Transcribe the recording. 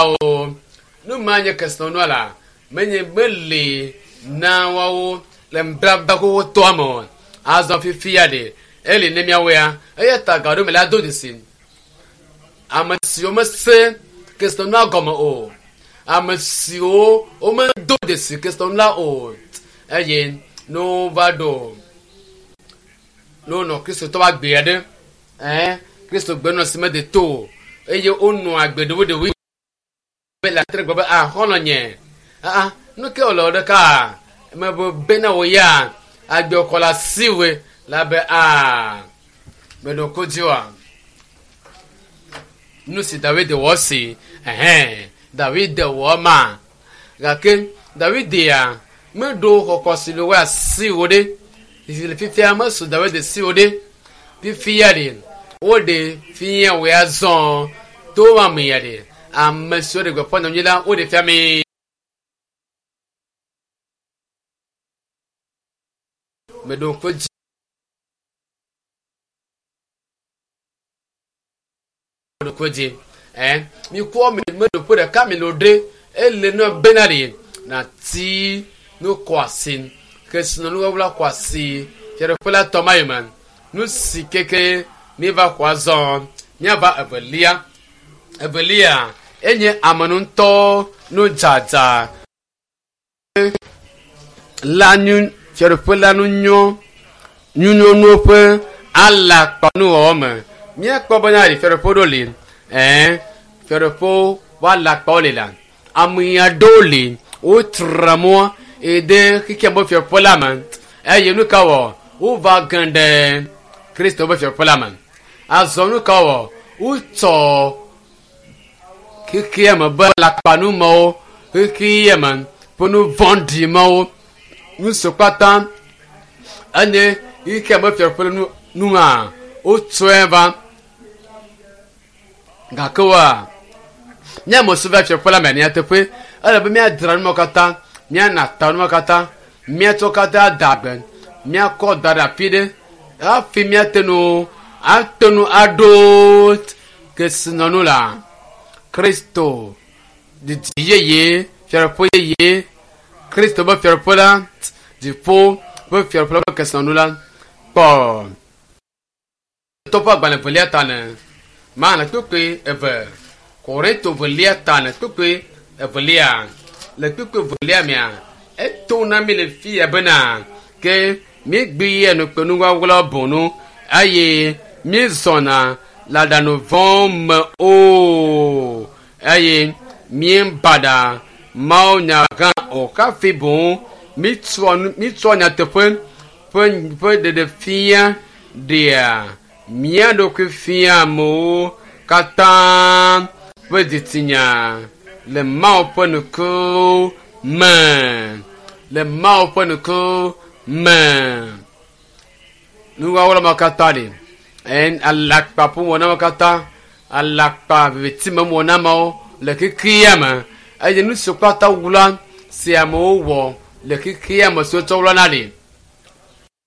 O nu ma nye kesinɔnua la menye meli na woawo le nubabla xoxotɔa me o. Azɔ fifia ɖe eli ne míawo ya eya ta gaɖo me la do dzesi. Ame siwo mese kesinɔnua gɔme o, ame siwo womedo dzesi kesinɔnu la o eye ne wova ɖo ne wonɔ kristotɔ ƒe agbe aɖe ɛɛ kristo gbenɔ si mede to o eye wonɔ agbe ɖewoɖewoe be le atre gblɔ be ah xɔlɔ nye ah nu ke wòle ɖeka mebe bena wò ya agbe kɔ le asiwòe la be ah meɖo ko dzi oa nu si David wɔ si ɛhɛn David wɔ ma gake David ya meɖo xɔxɔ si le wɔ asiwò ɖe le fifia mesu David siwò ɖe fifia ɖe woɖe fia wò ya zɔ to ame ya ɖe ame siwo ɖe gbeƒã nyanyui la woɖe fia mi. Meɖo ŋku dzi ɖo ŋku dzi ɛ mikɔ mi meɖo ƒe ɖeka mi lo ɖe ele ne bena ɖe nati nu kɔ asi kesinɔnuwɔwla kɔ asi fiaɖuƒe la tɔ ma yi me nu si keke miva xɔ azɔ miava evelia evelia enye ame ŋutɔ nu dzadza la nu fiaɖuƒe la nu nyɔ nyunyɔnuwo ƒe alakpanuwɔwɔ me míakpɔ bena ɖe fiaɖuƒe ɖo li ɛɛ fiaɖuƒewo ƒe alakpawo li la ame aɖewo li wotra mɔ ede xexea me fiaɖuƒe la me eye nu ka wɔ wova ge ɖe kristo ƒe fiaɖuƒe la me azɔ nu ka wɔ wotsɔ xexea me be alakpanumewo xexea me ƒe nu vɔ̃ɖi mawo nu siwo katã enye xexea me fiaɖuƒe la nu hã wotsɔe va gake woa míame siwo va fiaɖuƒe la me nyateƒe ele be míadzra nu mawo katã míana ta nu mawo katã míatsɔ katã da agbe míakɔ da ɖe afi ɖe hafi míate nu ate nu aɖo kesinɔnu la kristo didi yeye fiaɖuƒe yeye kristo ƒe fiaɖuƒe la dziƒo ƒe fiaɖuƒe la ƒe kesinɔnu la kpɔ tɔƒe agbalẽ velia ta ne mana kpekpe eve korinto velia ta ne kpekpe evelia le kpekpe velia mea eto na mi le fi ya bena ke míegbe ya nukpenuwɔwɔ bɔnu eye míezɔna le aɖaŋu vɔ̃ me o eye míebaɖa mawunya gã o hafi boŋ míetsɔ nyateƒe ƒe ƒe ɖeɖefia ɖea mía ɖokui fia amewo katã ƒe dzitsinya le Mawu ƒe nuku me le Mawu ƒe nuku me nuwɔwɔ ma katã ɖi ɛn alakpa ƒowɔna ma katã alakpa viviti me wɔna mawo le xexea me eye nu siwo katã wla si amewo wɔ le xexea me siwo tsɔ wlana ɖi.